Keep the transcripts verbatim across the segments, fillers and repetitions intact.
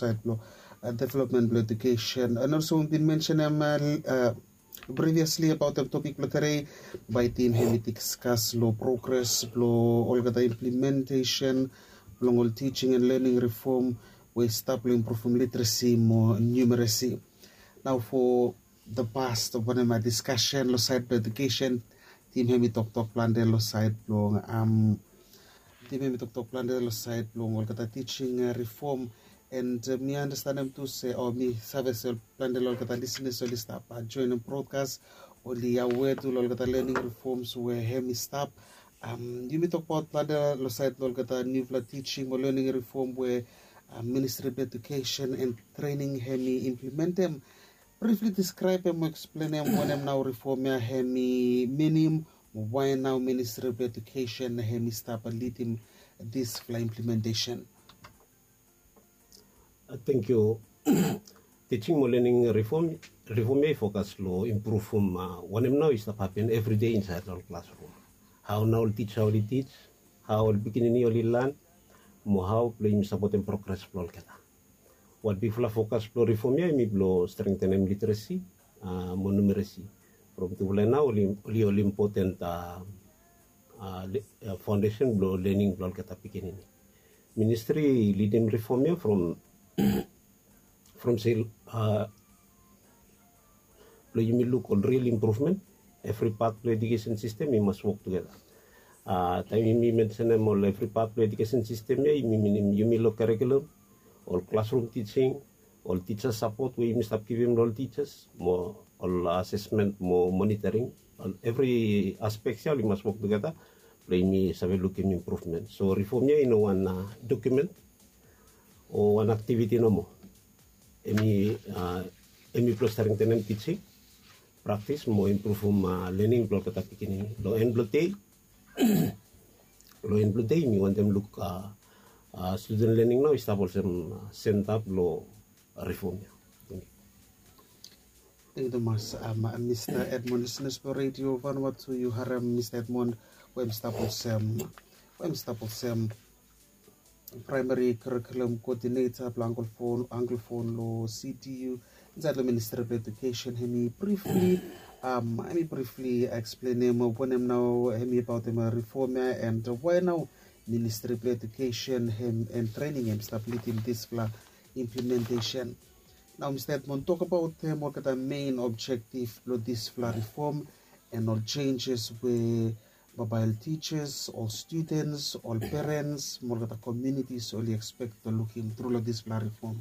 saed blong development blong edukesen. And also bin mensenem previously abaot topik blong tede, bae tim hemi diskas long progres blong olgeta implementesen blong ol teaching and learning reform we i stap long impruvum literesi mo numeresi. Nao fo the past of wanem a diskasen long saed blong edukesen, tim hemi toktok plante long saed blong tim hemi toktok plante long saed blong olgeta teaching reform. And mi andastanem tu se o mi save se plante long olgeta lisenas oli stap joenem brodkas, oli aware tu long olgeta learning reforms we hemi stap. Yumi tokbaot plante long saed blong olgeta niufala teaching mo learning reform we ministri blong edukesen and trening hemi implementem. Brifli diskraebem mo eksplenem wanem nao reform ya hemi minim, mo wae nao ministri blong edukesen hemi stap lidim disfala implementesen. Tengkiu. Teaching mo learning reform reform ya i fokas long impruvum wanem nao i stap hapen evridei insaed long ol klasrum. Hao nao ol tija oli tij, hao ol pikinini oli lan, mo hao blong yumi sapotem progres blong olgeta. Wat bigfala fokas blong reform ya hemi blong strengtenem literesi mo numeresi. From tufala ya nao oli ol impoten faondesen blong lening blong olgeta pikinini. Ministri i lidim reform ya from from se blong yumi luk ol ril impruvmen, evri pat blong edukesen sistem i mas wok tugeta. Taem yumi mensenem ol evri pat blong edukesen sistem ya, yumi minim yumi long karikulum, ol klasrum tijing, ol tija sapot we yumi stap givim long ol tijas, mo ol asesmen mo monitoring. Evri aspek ya oli mas wok tugeta blong yumi save lukim impruvmen. So reform ya i no wan dokumen o wan aktiviti nomo. Hemi blong strengtenem tijing praktis mo impruvum lening blong olgeta pikinini. Long en blong dei, long en blong dei yumi wantem luk studen lening nao i stap olsem senta blong reform ya. Tengkiu tumas. Mista Edmond, lisenas blong redio Vanuatu, yu harem Mista Edmond we hem stap olsem we hem stap olsem praemeri karikulum koodineta blong anglofon long C D U insaed long ministri blong edukesen. Hemi brifli hemi brifli eksplenem wanem nao hemi abaotem reform ya and wae nao ministri blong edukesen and trening hem stap lidim disfala implementesen. Nao Mista Edmond, tokabaotem olgeta mein objektif blong disfala reform and ol jenjes we babae ol tijas, ol studens, ol perens mo olgeta komunitis oli ekspek blong lukim tru long disfala reform.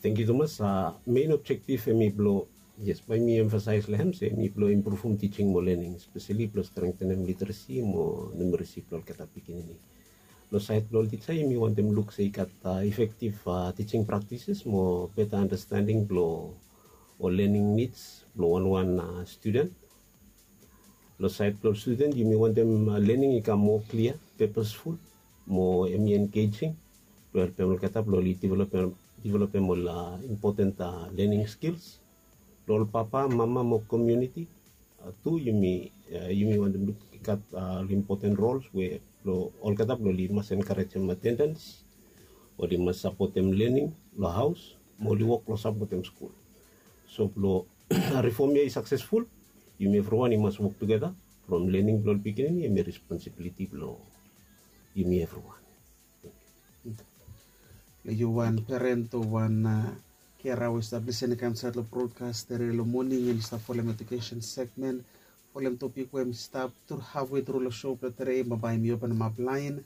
Tengkiu tumas. Mein objektif hemi blong, yes, bae mi emfasaes long hem se hemi blong impruvum tijing mo lening, speseli blong strengtenem literesi mo numeresi blong olgeta pikinini. Long saed blong ol tija yumi wantem luk se i gat efektif tijing praktises mo beta andastending blong ol lening nids blong wanwan studen. Long saed blong ol studen yumi wantem lening i kam moa klia, pepasful mo hemi engejing blong helpem olgeta blong oli developem ol impoten lening skils. Long ol papa, mama mo komuniti tu yumi wantem luk i gat ol impoten rols we blong olgeta blong oli mas enkarejem atendens, oli mas sapotem lening long haos mo oli wok blong sapotem skul. So blong reform ya i saksesful, yumi evriwan i mas wok tugeta. From lening blong ol pikinini hemi responsibiliti blong yumi evriwan. Yu wan peren o wan kera we i stap lisin i kam insaed long brodkas tede long moning, hem i stap folem edukesen segmen, folem topik we hem i stap hafwe tru long sou blong tede, bambae mi openemap laen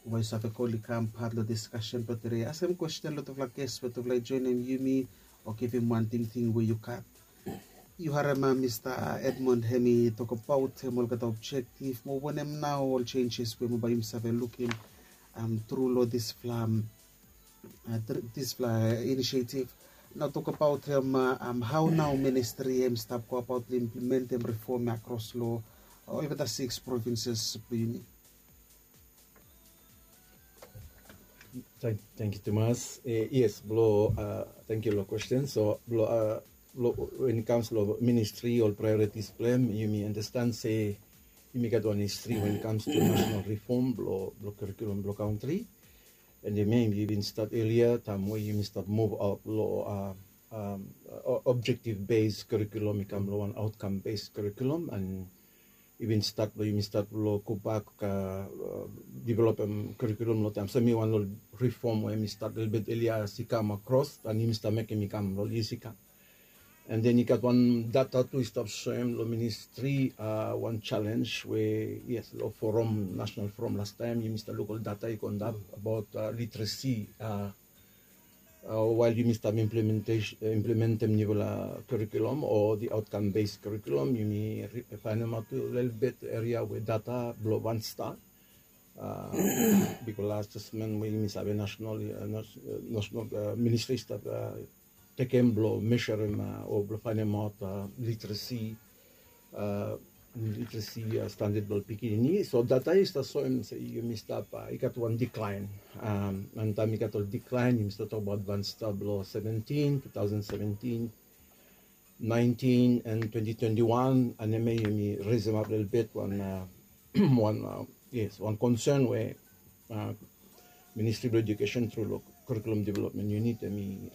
we yu save kol i kam pat long diskasen blong tede. Askem kwesten long tufala ges we tufala i joenem yumi o givim wan tingting we yu gat. Yu harem Mista Edmond hem i tokbaot hem olgeta objektif mo wanem nao ol jenjes we bambae yumi save lukim tru long disfala disfala inisietif. Nao tokbaot hem hao nao ministri hem i stap goabaot long implementem reform ya akros long olgeta sikis provinses blong yumi. Tengkiu tumas. Yes, blong tengkiu long kwesten. So blong wen i kams long ministri ol praeoritis blong hem, yumi andastan se yumi gat wan histri wen i kams long nasenal rifom blong karikulum blong kantri. And yumi bin start earlier taem we yumi start move out lo objective based curriculum i kam lo wan outcome based curriculum, and i bin start lo yumi start lo go back developem curriculum lo taem so mi wan lo reform we mi start lelebet earlier as i kam across and yumi start mekem i kam lo yis i kam. And then i gat wan data tu i stap soem lo ministri wan challenge we yes lo forum, national forum last time yumi stap luk ol data i go antap about literacy. Wael yumi stap implementem niufala curriculum o the outcome based curriculum yumi faenemaot tu lelebet eria we data blo vansta bikos las assessment we yumi save national ministri stap tekem blo mesurem o blo faenemaot literacy literacy standard blo pikinini. So data i stap soem se yumi stap i gat wan decline. And taem i gat ol decline yumi stap tokbaot vansta blo seventeen two thousand seventeen nineteen and twenty twenty-one and hemia yumi resemap lelebet wan wan yes wan concern we ministri blo education tru lo curriculum development unit hemi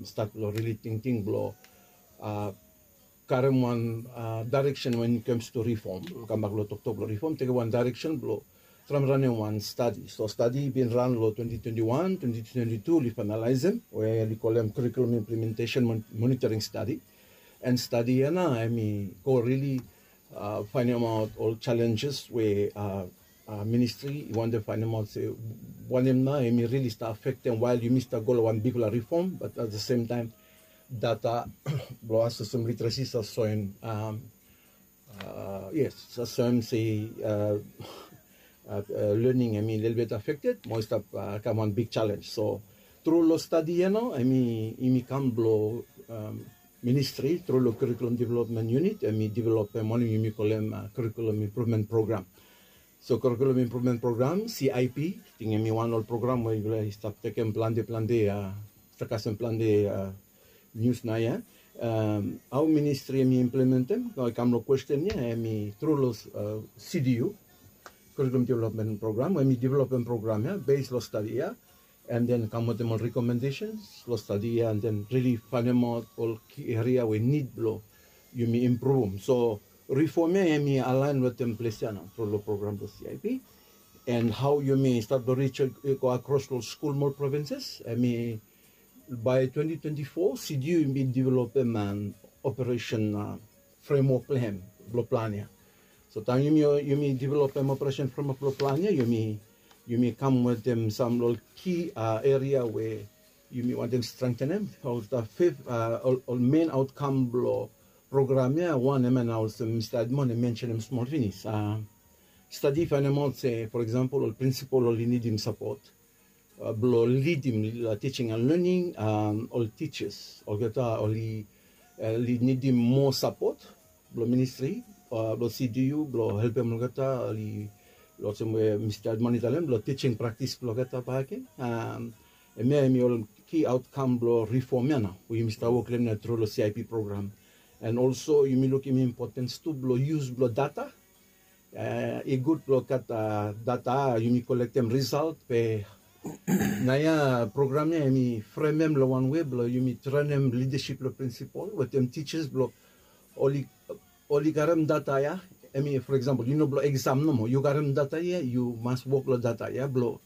stat blo rili tingting blo karem wan direction when it comes to reform. Kambak lo toktok blo reform tekem wan direction blo traem ranem wan stadi. So stadi i bin ran lo twenty twenty-one twenty twenty-two oli finalaesem we oli kolem curriculum implementation monitoring stadi. And stadi ia nao hemi go rili faenemaot ol challenges we ministri i wantem faenemaot se wanem nao hemi rili stap afektem wael yumi stap go lo wan bigfala reform, but at the same time data blo assessment literacy stap soem yes stap soem se learning hemi lelebet affected mo i stap kam wan big challenge. So tru lo stadi ia nao hemi kam blo ministri tru lo curriculum development unit hemi developem wanem yumi kolem curriculum improvement program. So curriculum improvement program cip ting hemi wan ol program we yufala i stap tekem plante plante stap kasem plante nius nao ia. Hao ministri hemi implementem nao i kam lo kwesten ia hemi tru lo cdu, curriculum development program we hemi developem program ia bes lo stadi ia and then kam wetem ol recommendations lo stadi ia and then rili faenemaot ol ki eria we nid blo yumi impruvum. So reform ia hemi alaen wetem ples ia nao tru lo program blo cip and hao yumi stat blo rich i go akros lo skul mo ol provinces hemi bae twenty twenty-four cdu i bin developem an operesen fremwok blo hem blo plan ia. So taem yumi developem operesen fremwok blo plan ia yumi kam wetem sam lo ol ki eria we yumi wantem strengtenem. Ol men aotkam blo program ia wan hemia nao olsem mista edmond i mensenem smol finis. Stadi i faenemaot se for eksampol ol prinsipol oli nidim sapot blo lidim tijing and lening. Ol tijas olgeta oli nidim moa sapot blo ministri blo cdu blo helpem olgeta oli olsem we mista edmond i talem blo tijing praktis blo olgeta bakegen. Hemia hemi ol ki aotkam blo rifom ia nao we yumi stap wok long hem ia tru long cip program. And olso yumi lukim impotens tu blo yus blo data. I gud blo gat data yumi kolektem risalt be naoia program ia yumi fremem long wan wei blo yumi trenem lidasip blong prinsipol wetem tijas blo oli karem data ia. Hemi for eksampol yu no blo eksam nomo yu karem data ia yu mas wok long data ia blo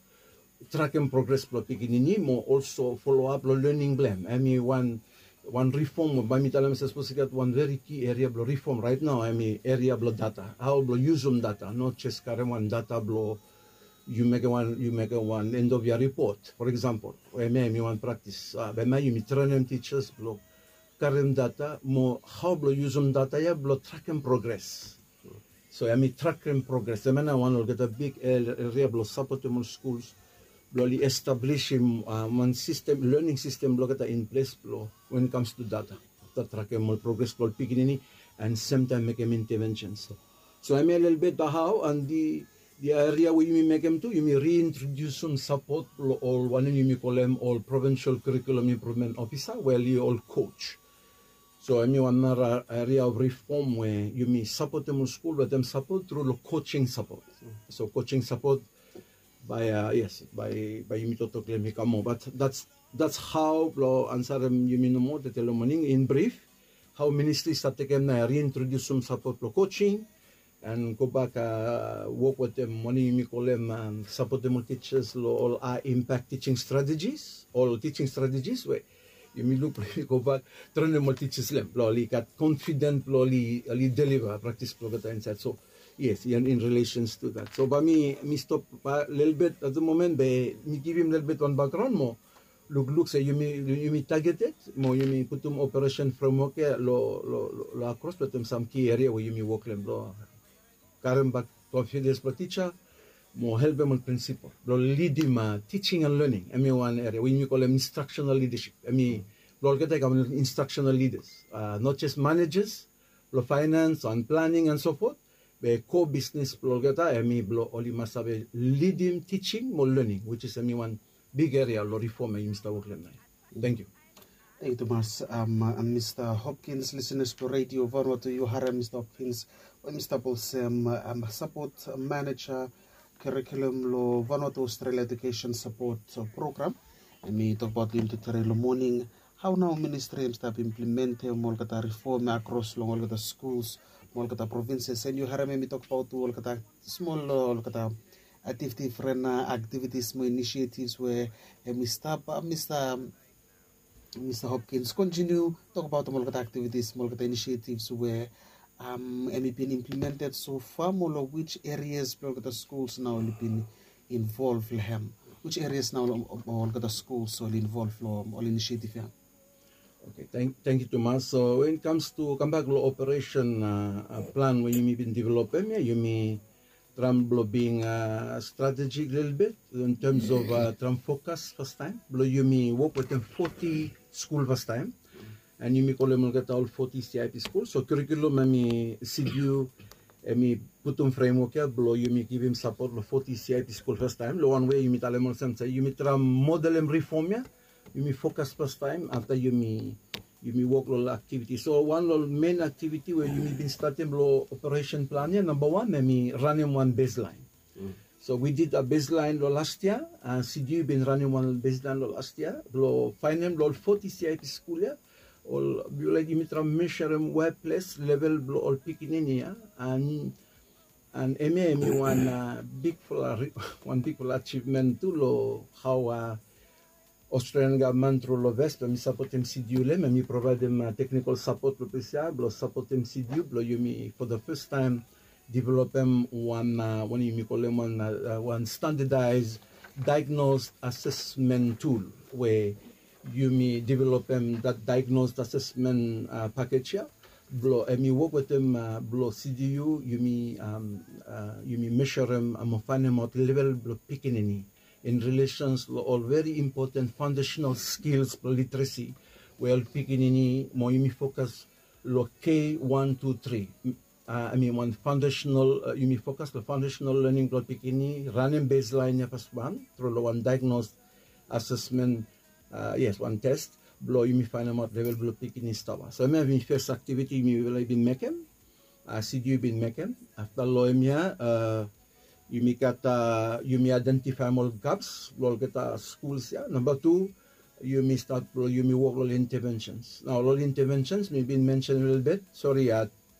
trakem progres blong pikinini mo olso foloap long lening blong hem. Hemi wan rifom we bae mi talem sapos i gat wan veri ki eria blong rifom rait nao hemi eria blong data hao blong yusum data no jes karem wan data blong yu mekem wan end of yia ripot for eksampol. Hemia hemi wan praktis be hemia yumi trenem tijas blong karem data mo hao blong yusum data ia blong trakem progres. So hemi trakem progres hemia nao wan olgeta bik eria blong sapotem ol skuls blong oli establisim wan sistem lening sistem blong olgeta in ples blong wen i kams tu data afta trakem ol progres blong ol pikinini and semtaem mekem intevensen. So hemia lelebet hao and di eria we yumi mekem tu yumi riintrodiusim sapot blong ol wanem yumi kolem ol provinsol kurikulum impruvmen ofisa we oli ol koj. So hemi wan nara eria of rifom we yumi sapotem ol skul wetem sapot tru long kojing sapot. So kojing sapot Bae yes, bae yumi toktok long hem i kam moa, bat dats hao blong ansarem yumi nomo tede long moning in brif, hao ministri i stap tekem nao riintrodiusum sapot blong kojing, an gobak wok wetem wanem yumi kolem sapotem ol tijas long ol a impak tising stratejis, ol tising stratejis we yumi luk blong yumi gobak trenem ol tijas long hem blong oli gat konfiden blong oli deliva praktis blong olgeta insaed. So yes, in relesens tu dat, so bae mi stop lelebet at the moment be mi givim lelebet wan bakgraon mo lukluk se yumi tageted mo yumi putum operesen fremwok ya long akros wetem sam ki eria we yumi wok long hem blong karem bak konfides blong tija mo helpem ol prinsipol blong lidim tising an lening. Hem i wan eria we yumi kolem instraksenal lidasip. Hem i blong olgeta i kam instraksenal lidas, not jes manejas blong faenans an planing an sopot, be ko bisnes blong olgeta hem i blong oli mas save lidim tising mo lening, wis is hem i wan big eria long rifom ya yumi stap wok long hem nao. Tangkiu. Tangkiu tumas. Mista Hopkins, lisenas blong redio Vanuatu, yu harem Mista Hopkins we mi stap olsem sapot maneja kurikulum long Vanuatu Australia Education Support Program. Hem i tokbaot long yumi tude long moning hao nao ministri hem i stap implimentem olgeta rifom ya akros long olgeta skuls mo olgeta provinses, an yu harem hem i tokbaot tu olgeta smol olgeta aktiviti, fren aktivitis mo inisietivs we hem i stap. Mista Hopkins, kontiniu tokbaotem olgeta aktivitis mo olgeta inisietivs we hem i bin implimented sofa mo long wis erias blong olgeta skuls nao oli bin involv long hem? Wis erias nao olgeta skuls oli involv long ol inisietiv ya? Okei, tangkiu tumas. So wen it kams tu kambak long operesen plan we yumi bin developem ya, yumi traem blong bing stratejik lelebet in tems of traem fokas fastaem blong yumi wok wetem foti skul fastaem. An yumi kolem olgeta ol foti C I P skul. So kurikulum hem i sidiu hem i putum fremwok ya blong yumi givim sapot long foti C I P skul fastaem long wan we yumi talem olsem se yumi traem modelem rifom ya, yumi fokas fastaem afta yumi wok long ol aktiviti. So wan long ol men aktiviti we yumi bin statem long operesen plan ya, namba wan hem i ranem wan beslaen. So wi did a beslaen long las yia. Sidiu i bin ranem wan beslaen long las yia blong faenem long ol foti C I P skul ya, ol yu laik yumi traem meserem wea ples level blong ol pikinini ya. An hemia hem i wan bigfala wan bigfala ajivmen tu long hao Australian gavman tru long ves blong hem i sapotem sidiu long hem, hem i provaedem teknikol sapot long ples ya blong sapotem sidiu blong yumi fo da fes taem developem wan wanem yumi kolem wan standadaes daegnos asesmen tul we yumi developem dat daegnos asesmen pakej ya blong hem i wok wetem blong sidiu yumi meserem mo faenemaot level blong pikinini in relesens long ol veri impoten faondesenal skils blong literesi we ol pikinini mo yumi fokas long K wan tu tri. Hem i wan faondesenal yumi fokas long faondesenal lening blong ol pikinini, ranem beslaen ya fas wan tru long wan daegnos asesmen, yes, wan tes blong yumi faenemaot level blong pikinini stap. So hemia hem i fes aktiviti yumi laik bin mekem. Sidiu i bin mekem. Afta long hemia yumi gat yumi aedentifaem ol gaps blong olgeta skuls ya. Namba tu, yumi stat blong yumi wok long ol intevensens. Nao ol intevensens mi bin mensen lelebet, sori,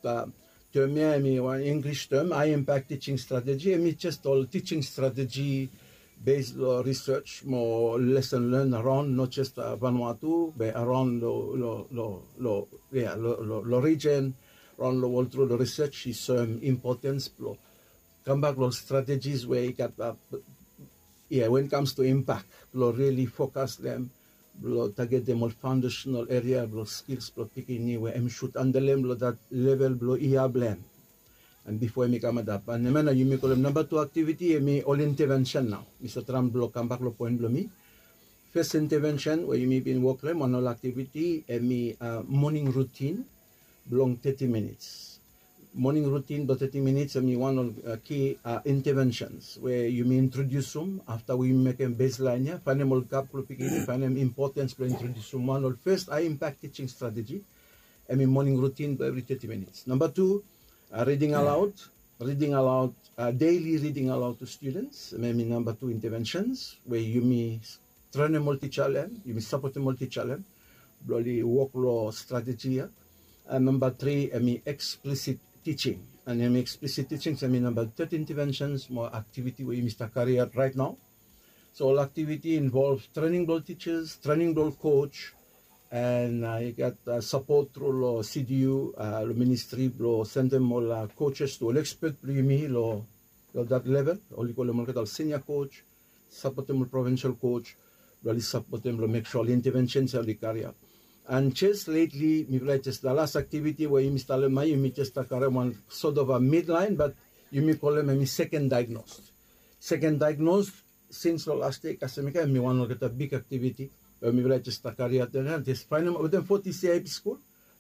term ya hem i wan Inglis term, high impact teaching strategy. Hem i jes ol teaching strategy bes long research mo lesson learn around, not just Vanuatu be around long region, around long world tru long research i soem importance blong kambak long strategies we i gat, yeah, when it comes to impact blong really focus them blong targetem ol foundational area blong skills blong pikinini we hem should handlem long that level blong year blong hem. And before hem i kam antap, and hemia nao yumi kolem number two activity, hem i ol intervention. Nao mi save traem blong kambak long point blong mi. First intervention we yumi bin wok long hem, one ol activity, hem i morning routine blong thirty minutes. Morning routine blong thirty minutes hem i wan ol key interventions we yumi introdiusim afta we yumi mekem baseline ya, faenem ol gap blong pikinini, faenem importance blong introdiusim wan ol first high impact teaching strategy. Hem i morning routine blong evri thirty minutes. Number two, reading aloud. reading aloud, uh, daily reading aloud to students, hemi namba tu interventions we yumi trenem ol tisa long hem, yumi sapotem ol tisa long hem blong oli wok long strategy ia. And namba tri hemi explicit teaching, and hemi explicit teaching hemi namba third interventions mo activity we yumi stap kariaot right now. So ol activity involve trening blong ol teachers, trening blong ol coach, and uh, i gat uh, sapot tru long C D U, uh, long ministry blong sendem ol uh, coaches to ol expert blong yumi long long that level, oli kolem olgeta ol senior coach, sapotem ol provincial coach blong oli sapotem blong mek sua ol interventions ia oli kariaot. And just lately mifala i just the last activity we yumi stap long hem ia, yumi just stap karem wan sort of a midline, but yumi kolem hemi second diagnosed. Second diagnosed, since long last year kasem i kam, hemi wan olgeta big activity we mifala i just stap kariaot ia, just faenem wetem forty C I P skul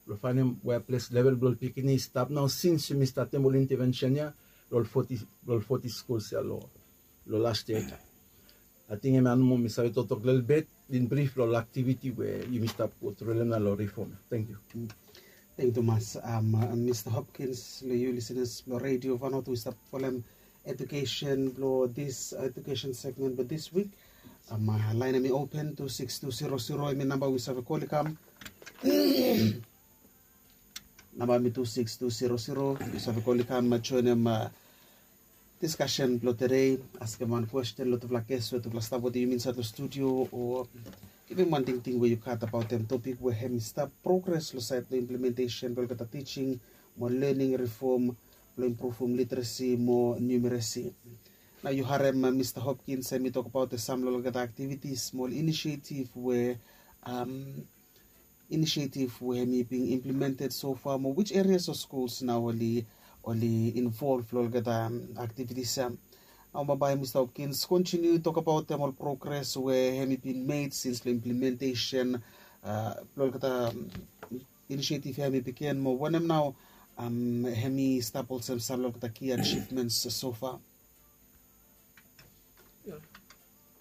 blong faenem wea ples level blong ol pikinini i stap nao, since yumi statem ol intervention ia long ol forty, long ol forty skuls ia long long last year. Ating hemia nomo mi save toktok lelebet in brif long ol activity we yumi stap go tru long hem nao long reform. Thank you. Thank you tumas, um, uh, Mr Hopkins, long yu listeners blong Radio Vanuatu we stap folem education blong this education segment blong this week. Um, uh, laen hemi open, two six two zero zero hemi namba we save kol i kam. Namba hemi two six two zero zero, yu save kol i kam joenem uh, discussion blong tede, askem wan kwesten long tufala ges we tufala stap wetem yumi insaed long studio, o givim wan tingting we yu gat abaotem topik we hemi stap progres long saed blong implementation blong olgeta teaching mo learning reform blong impruvum literacy mo numeracy. Nao yu harem uh, Mr Hopkins hemi tokbaot sam long olgeta activities mo ol initiative we um, initiative we hemi being implemented so far mo which areas of schools nao oli oli involve long olgeta um, activities ia. Nao bambae Mr Hopkins continue tokbaotem ol progres we hemi being made since long implementation uh, blong olgeta um, initiative ia hemi bigin mo wanem nao um, hemi stap olsem sam long olgeta key achievements so far.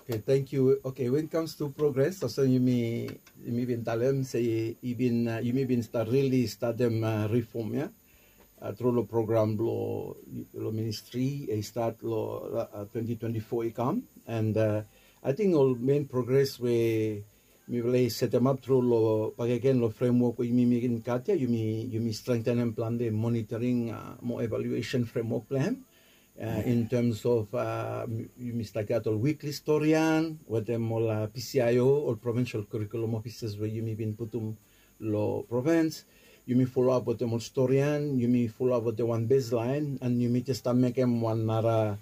Okay, thank you. Okay, when it comes to progress, olsem yumi yumi bin talem se i bin uh, yumi bin start really startem uh, reform ia. Uh, tru long program blong long ministry i start long uh, twenty twenty-four i kam, and uh, I think ol main progress we mifala i setemap tru long bakegen long framework we yumi mekem gat ia, yumi yumi strengthenem plante monitoring uh, mo evaluation framework blong hem. Uh, in terms of uh, yumi stap gat ol weekly storian wetem ol uh, P C I O, ol provincial curriculum officers we yumi bin putum long province. Yumi follow up wetem ol storian, yumi follow up wetem wan baseline, and yumi just stap mekem wan nara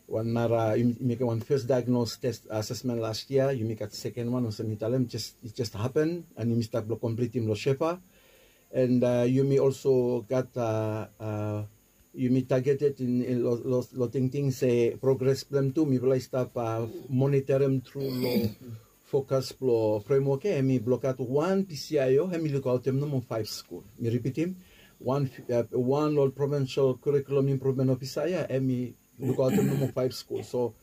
wan nara yumi mekem wan first diagnose test assessment last year, yumi gat second one olsem mi talem just it just happen, and yumi stap blong completem long Shefa. And uh, yumi also gat uh, uh, yumi targeted in, in lo, lo, lo tingting se progress blong hem tu mifala i stap uh, monitorem tru long focus blong framework ia, hemi blong gat wan P C I O hemi lukaotem nomo five skul. Mi ripitim, wan uh, wan long ol provincial curriculum improvement officer ia hemi lukaotem nomo five skul. So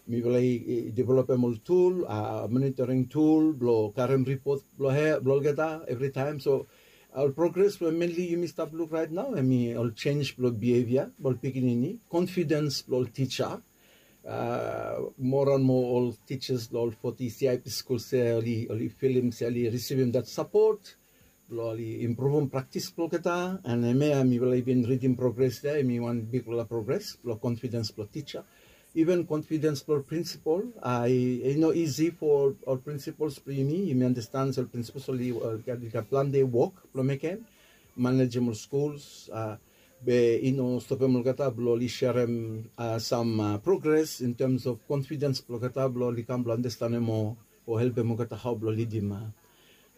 mifala i developem ol tool, uh, monitoring tool blong karem ripot blong he blong olgeta evritaem. So ol progres we mainly yumi stap luk right now hemi ol change blong behavior blong ol pikinini, confidence blong ol tisa. Uh, moa and moa ol teachers long ol forty C I P skul se oli oli filim se oli risivim that support blong oli impruvum praktis blong olgeta. And hemia mifala i bin ridim progres ia, hemi wan bigfala progres blong confidence blong tisa. Even confidence blong ol principal, i i no easy for ol principals blong yumi. Yumi understand se ol principals oli gat plante wok blong mekem, manejem ol skuls, uh, be i no stopem olgeta blong oli serem uh, sam uh, progres in terms of confidence blong olgeta blong oli kam blong andastanem o o helpem olgeta hao blong lidim uh,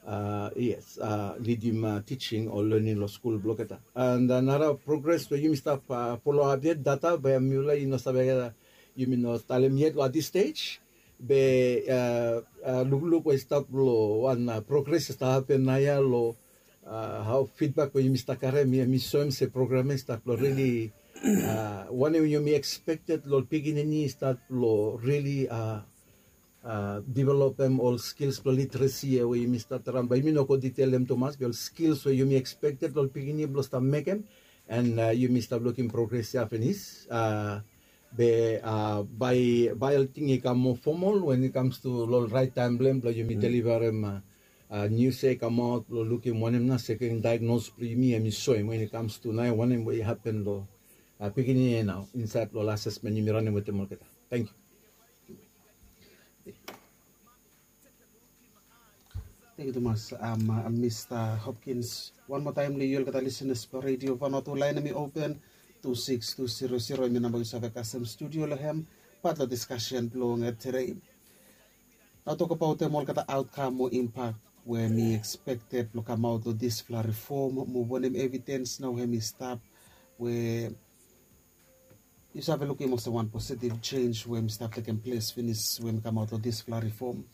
uh, yes, uh, lidim uh, teaching o learning long skul blong olgeta. And uh, nara progres we yumi stap uh, follow up yet data be mifala i no save uh, yumi no talem yet long this stage. Be uh, uh, lukluk we i stap long wan uh, progres i stap hapen naoia long uh, hao feedback we yumi stap karem ia, mi soem se program ia i stap long really uh, wanem yumi expected long ol pikinini i stap long really uh, uh, developem ol skills blong literacy ia we yumi stap traem, bae yumi no go detail long hem tumas, be ol skills we yumi expected long ol pikinini blong stap mekem And yumi stap lukim progres ya finis. Be bae ol ting i kam moa fomol wen i kams tu long ol rait taem blong hem blong yumi delivarem nius ya i kamaot blong lukim wanem nao seken daegnos blong yumi hem i soem wen i kams tu nao wanem we i hapen long pikinini ya nao insaed long ol asesmen yumi ranem wetem olgeta. Tangkiu. Tangkiu tumas, Mista Hopkins. Wan moa taem long yu olgeta lisenas blong Redio Vanuatu, laen hem i open, tu sikis tu zero zero hem i namba yu save kasem studio long hem. Pat long diskasen blong tede, nao tokbaotem olgeta aotkam o impak we hem i ekspekted blong kamaot long disfala rifom, mo wanem evidens nao hem i stap we yu save lukim olsem wan positiv jenis we hem i stap tekem ples finis we hem i kamaot long disfala rifom.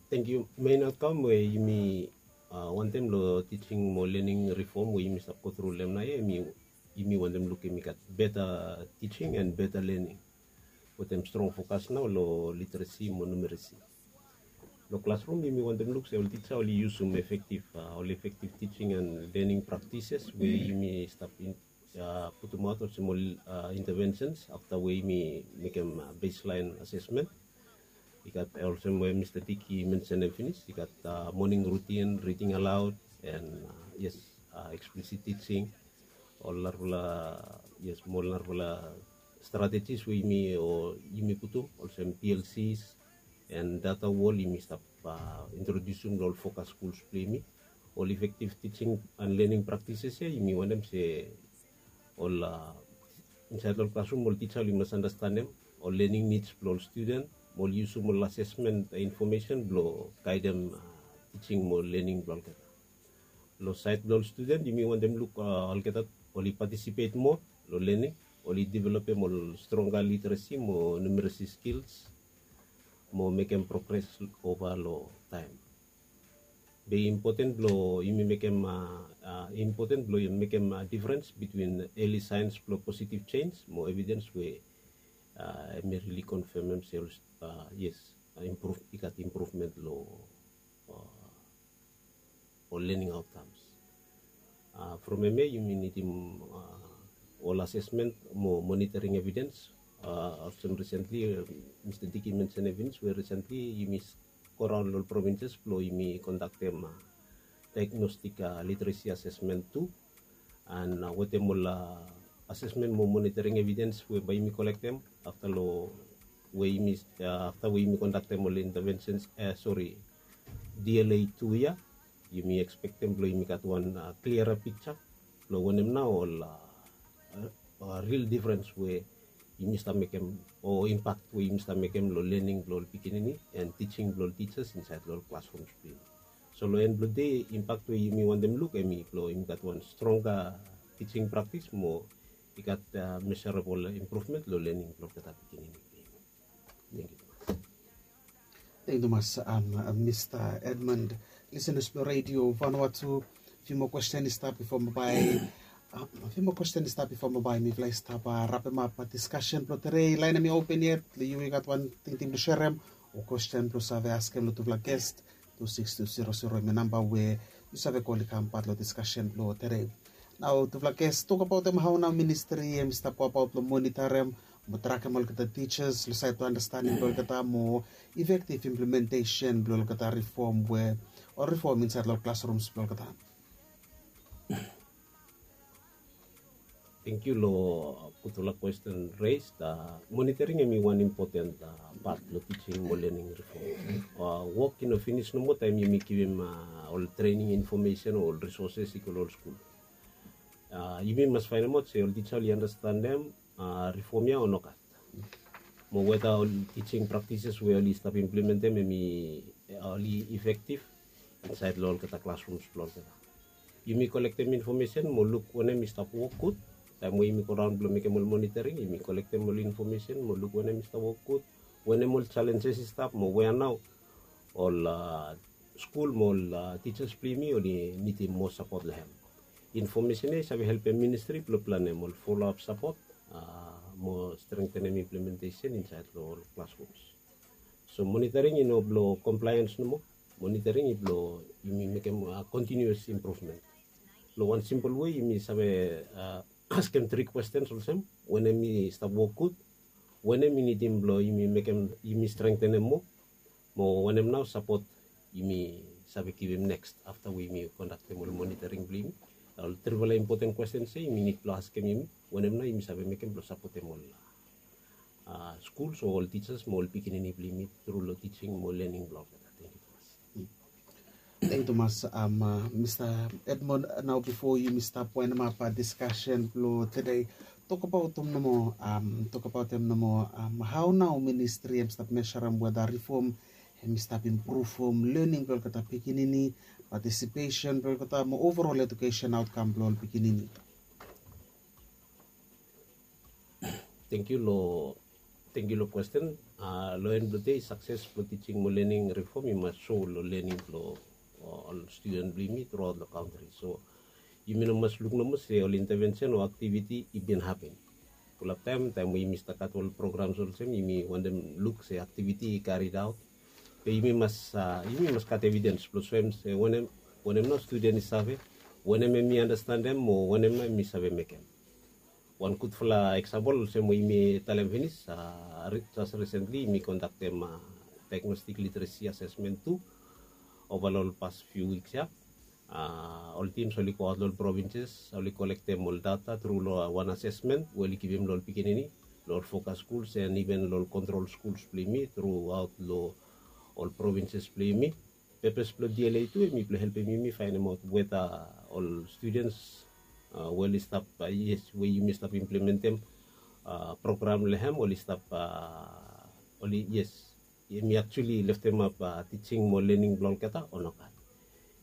Tangkiu. Mein aotkam we yumi wantem long tising mo lening rifom we yumi stap gotru long hem nao ya, yumi wantem lukim i gat beta tising and beta lening wetem strong fokas nao long literesi mo numeresi. Long klasrum yumi wantem luk se ol tisa oli yusum efektiv ol efektiv tising and lening praktises we yumi stap putumaot olsem ol intavensens afta we yumi mekem beslaen asesmen. I gat olsem we Mista Dick i mensenem finis, i gat moning rutin, riding alaod, and yes, eksplisit tising, ol narafala, yes, mo ol narafala stratejis we yumi o yumi putum olsem PLCs and data wol yumi stap introdiusim long ol fokas skuls blong yumi. Ol efektiv tising and lening praktises ya yumi wantem se ol insaed long ol klasrum ol tisa oli mas andastanem ol lening nids blong ol studen mo oli yusum ol asesmen infomesen blong gaedem tising mo lening blong olgeta. Long saed blong ol studen yumi wantem luk olgeta oli patisipet moa long lening, oli developem ol stronga literesi mo numeresi skils mo mekem progres ova long taem. Be impoten blong yumi mekem impoten blong yumi mekem difrens bitwin eli saens blong positiv jenis mo evidens we hem i rili konfemem se yes, i gat impruvmen long ol lening aotkams. From hemia yumi nidim ol asesmen mo monitoring evidens. Olsem risentli Mista Dick i mensenem finis we risentli yumi go raon long ol provinses blong yumi kondaktem daegnostik literesi asesmen tu. And wetem ol asesmen mo monitoring evidens we bae yumi kolektem afta long we yumi afta we yumi kondaktem ol intavensens, sori, DLA tu ya, yumi ekspektem blong yumi gat wan kliara piksa blong wanem nao ol ril difrens we yumi stap mekem o impak we yumi stap mekem long lening blong ol pikinini and tising blong ol tisas insaed long ol klasrums blong yumi. So long en blong dei impak we yumi wantem luk hem i blong yumi gat wan stronga tising praktis mo i gat meserabol impruvmen long lening blong olgeta pikinini blong yumi. Tangkiu tumas. Tangkiu tumas, Mista Edmund. Lisenas blong Redio Vanuatu, fiu moa kwesten i stap bifo bae fiu moa kwesten i stap bifo bae mifala i stap rapemap diskasen blong tede. Laen hem i open yet, long yu i gat wan tingting blong serem o kwesten blong save askem long tufala ges, tu sikis tu zero zero hem i namba we yu save kol i kam pat long diskasen blong tede. Nao tufala ges, tokbaotem hao nao ministri hem i stap go abaot blong monitarem mo trakem olgeta tisas long saed blong andastaning blong olgeta mo efektiv implementesen blong olgeta rifom we ol rifom insaed long ol klasrums blong olgeta. Tangkiu long gudfala kwesten res. Monitoring hem i wan impoten pat long tising mo lening rifom. Wok i no finis nomo taem yumi givim ol trening infomesen o ol risoses i go long ol skul. Yumi mas faenemaot se ol tisa oli andastanem rifom ya o nogat, mo weta ol tising praktises we oli stap implementem hem i oli efektiv insaed long olgeta klasrums blong olgeta. Yumi kolektem infomesen mo luk wanem i stap wok gud. Taem we yumi go raon blong mekem ol monitoring yumi kolektem ol infomesen mo luk wanem i stap wok gud, wanem ol jalenjes i stap mo wea nao ol skul mo ol tisas blong yumi oli nidim moa sapot long hem. Infomesen ya i save helpem ministri blong planem ol foloap sapot mo strengtenem implementesen insaed long ol klasrums. So monitoring i no blong komplaens nomo. monitoring i blong yumi mekem kontinuas improvment. Long wan simpel wei yumi save askem tri kwestens olsem, wanem i stap wok gud, wanem i nidim blong yumi mekem, yumi strengtenem moa, mo wanem nao sapot yumi save givim neks afta we yumi kondaktem ol monitoring blong yumi. Ol trifala impoten kwestens ya yumi nid blong askem yumi, wanem nao yumi save mekem blong sapotem ol skuls o ol tisas mo ol pikinini blong yumi tru long tising mo lening blong olgeta. Tangkiu tumas. Tangkiu tumas. Mista Edmond, nao bifo yumi stap waindimap diskasen blong tede, tokabautem nomo, tokabautem nomo, hao nao ministri hem stap mesarem weda rifom hem i stap impruvum lening blong olgeta pikinini, patisipesen blong olgeta mo overol ejukesen aotkam blong ol pikinini? Tangkiu long, tangkiu long kwesten. Long en blong dei sakses blong tising mo lening rifom i mas so long lening blong ol studen blong yumi truaot long kantri. So yumi no mas luk nomo se ol intevensen o aktiviti i bin hapen. Fulap taem, taem we yumi stap gat ol programs olsem, yumi wantem luk se aktiviti i karidaot. Be yumi mas, yumi mas gat evidens blong soem se wanem, wanem nao studen i save, wanem hem i andastandem mo wanem nao hem i save mekem. Wan gudfala eksampol olsem we yumi talem finis, jes risentli yumi kondaktem diagnostik literesi asesmen tu ova long ol pas fiu wiks ya. Ol tims oli goaot long ol provinses, oli kolektem ol data tru long wan asesmen we oli givim long ol pikinini long ol fokas skuls en iven long ol kontrol skuls blong yumi truaot long ol provinses blong yumi. Pepes blong D L A tu hemi blong helpem yumi faenemaot weta ol studens we oli stap, yes, we yumi stap implementem program long hem oli stap, oli, yes, hemi actually leftemap tising mo lening blong olgeta o nogat.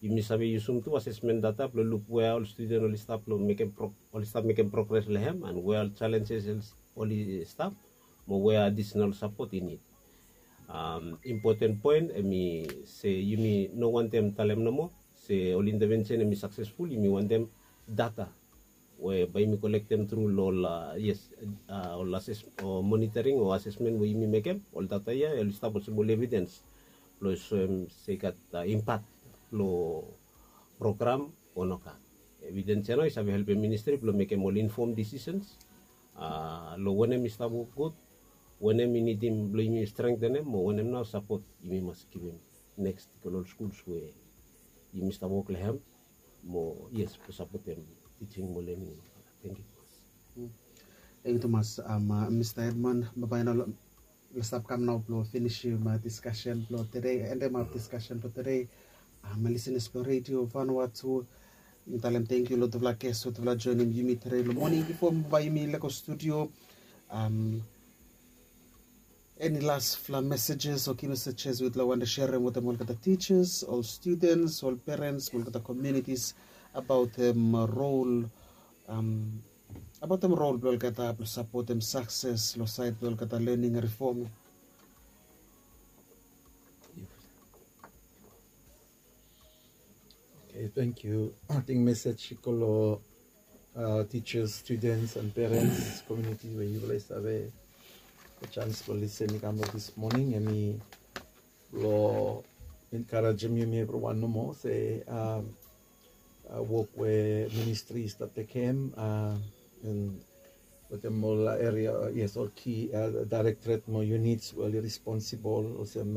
Yumi save yusum tu asesmen data blong luk wea ol studen oli stap long mekem, oli stap mekem progres long hem, and wea ol jalenjes oli stap, mo wea adisenal sapot i nid. Impoten poen hemi se yumi no wantem talem nomo se ol intevensen hemi saksesful, yumi wantem data we bae yumi kolektem tru long ol, yes, ol ases o monitoring o asesmen we yumi mekem, ol data ya oli stap olsem ol evidens blong soem se i gat impak long program o nogat. Evidens ya nao i save helpem ministri blong mekem ol infom disisens long wanem i stap wok gud, wanem i nidim blong yumi strengtenem, mo wanem nao sapot yumi mas givim neks i go long ol skuls we yumi stap wok long hem, mo, yes, blong sapotem tising mo lening. Tangkiu tumas. Tangkiu tumas, Mista Edmond. Bae nao lo stap kam nao blong finisim diskasen blong tede, endemap diskasen blong tede. Lisenas blong Redio Vanuatu, mi talem tangkiu long tufala ges we tufala joenem yumi tede long moning. Bifo bae yumi lego studio, eni lasfala mesejes o ki mesejes we yutufala wantem serem wetem olgeta tijas, ol studens, ol perens, olgeta komunitis abaotem rol, abaotem rol blong olgeta blong sapotem sakses long saed blong olgeta lening rifom? Oke, tangkiu. Ating mesej i go long tijas, studens and perens, komuniti we yufala i save gat jans blong lisen i kam long dis moning, hemi blong enkarejem yumi evriwan nomo se wok we ministri i stap tekem, and wetem ol eria, yes, ol ki daerektoret mo yunits we oli responsibol olsem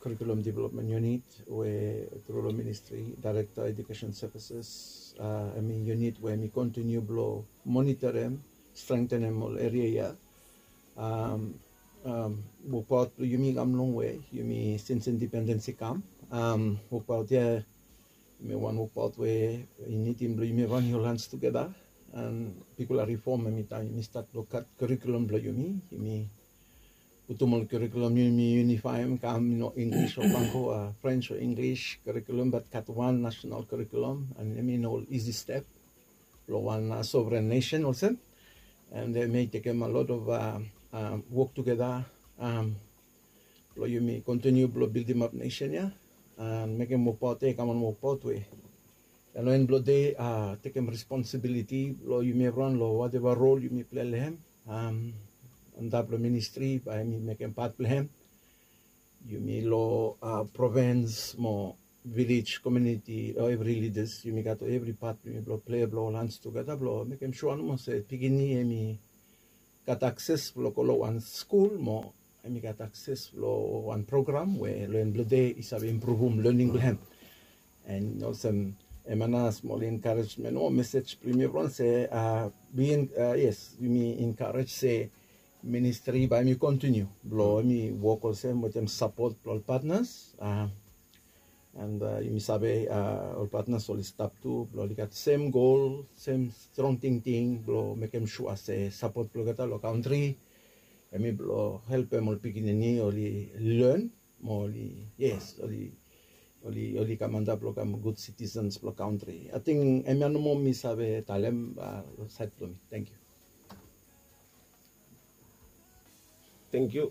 Curriculum Development Unit we tru long ministri, Director Education Services, hemi yunit we hemi kontiniu blong monitorem, strengtenem ol eria ya. Wokbaot blong yumi i kam longwe, yumi sins independens i kam. Wokbaot ya hemi wan wokbaot we i nidim blong yumi ran, hold hands tugeta, and bigfala rifom hemi taem yumi stat blong gat curriculum blong yumi. Yumi putum ol curriculum, yumi yunifaem, kam, i no English o Bangko, French o English curriculum, bat gat wan national curriculum, and hemi no isi step long wan sovereign nation olsem. And hemi tekem a lot of wok tugeta blong yumi kontiniu blong bildimap nesen ya, and mekem wokbaot ya i kam wan wokbaot we long en blong dei tekem responsibiliti blong yumi evriwan long wateva rol yumi plei long hem antap long ministri, bae yumi mekem pat blong hem. yumi long provins mo vilej komiuniti long evri lidas yumi gat long evri pat yumi blong plei blong ol hans tugeta blong mekem sua nomo se pikinini em i gat akses blong go long wan skul mo em i gat akses long wan program we long en blong de i save impruvum lening blong hem. And olsem em ana smol enkarejmen o mesej blong yumi evriwan se yes yumi enkarej se ministri bae mi kontiniu blong mi wok olsem wetem sapot blong ol patnas. And yumi save ol patnas oli stap tu blong oli gat sem gol sem strong tingting blong mekem sua se sapot blong olgeta long kantri em i blong helpem ol pikinini oli len mo oli yes oli oli oli kam antap long kam gud sitisens blong kantri ating em ya nomo mi save talem long sait blong mi. Tengkiu. Tengkiu.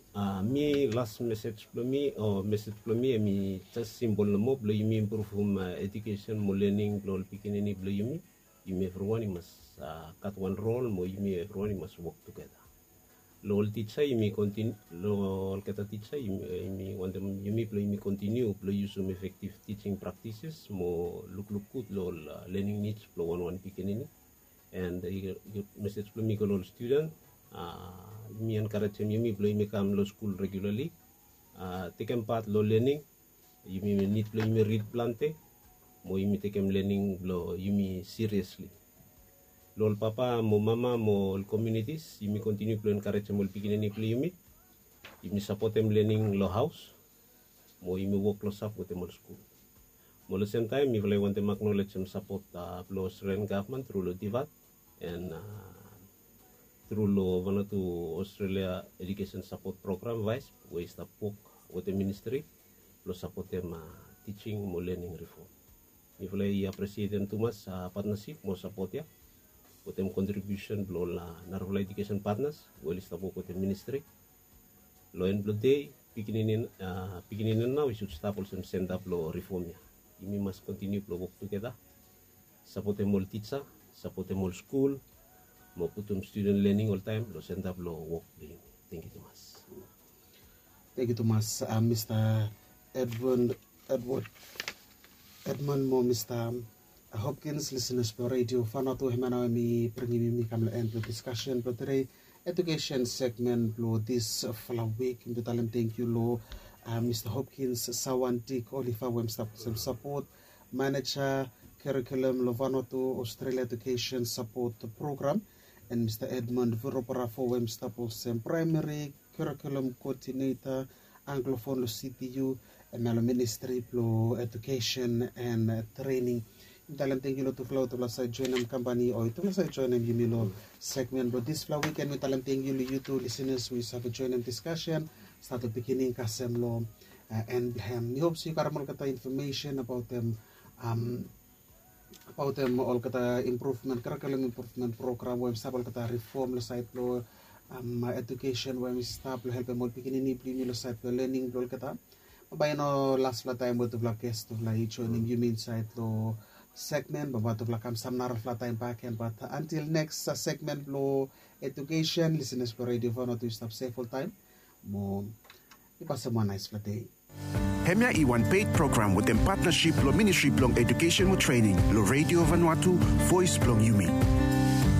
Mi las mesej blong mi o mesej blong mi em i jes simpol nomo blong yumi impruvum ejukesen mo lening blong ol pikinini blong yumi. Yumi evriwan i mas gat wan rol mo yumi evriwan i mas wok tugeta. Long ol tija yumi kontiniu long olgeta tija yumi wantem yumi blong yumi kontiniu blong yusum efektiv tijing praktises mo lukluk gud long ol lening nids blong wanwan pikinini. And mesej blong mi go long ol studen, yumi enkarejem yumi blong yumi kam long skul regulali. Tekem pat long lening. Yumi nid blong yumi rid plante mo yumi tekem lening blong yumi siriesli. Long ol papa mo mama mo ol komiunitis yumi kontiniu blong enkarejem ol pikinini blong yumi. Yumi sapotem lening long haos mo yumi wok klosap wetem ol skul. Mo long semtaem mifala i wantem aknolejem sapot blong australian gavman tru long divat en tru long vanatu australia ejukesen sapot program vais we i stap wok wetem ministri blong sapotem tijing mo lening rifom. Mifala i apresietem tumas patnasip mo sapot ya wetem kontribiusen blong ol narafala ejukesen patnas we oli stap wok wetem ministri. Long en blong dei pikinini nao i sud stap olsem senta blong rifom ya. Yumi mas kontiniu blong wok tugeta, sapotem ol tija, sapotem ol skul mo putum studen lening oltaem long senta blong wok blong yumi. Tengkiu tumas. Tengkiu tumas mista edmund edmund edmund mo mista hopkins lisinas blong redio fanatu hema nao em i bringim yumi kam long en blong diskasen blong tede. Edukesen segmen blong disfala wik mi bin talem tengkiu long mista hopkins sawan dik olifa we mi stap olsem sapot maneja kerikulum long vanatu australia edukesen sapot program, en mista edmund viroparafo we mi stap olsem praemeri kerikulum koodineta anglofon long cpu. Em ya long ministri blong edukesen en trening. Yumi talem tengkiu long tufala we tufala save joenem kampani o tufala save joenem yumi long segmen blong disfala wiken mi talem tengkiu long yu tu lisinas we yu save joenem diskasen stat long pikinini kasem long en blong hem mi hop se yu karim olgeta infomesen abaotem abaotem olgeta impruvmen karakalem impruvmen program we em stap olgeta rifom long sait blong edukesen we em i stap long helpem ol pikinini blong yumi long sait blong lening blong olgeta. Bambae i no laspela taem we tufala ges tufala i joinim yumi insait long segmen bambae tufala kam sam narafala taem bak gen bat antil neks segmen blong edukesen lisinas blong redio fon o tu i stap sef oltaem. Mo i pasem wan naispela dei. Hemia i wan peit program wetem patnasip long ministri blong edukesen mo trening long redio vanuatu, voes blong yumi.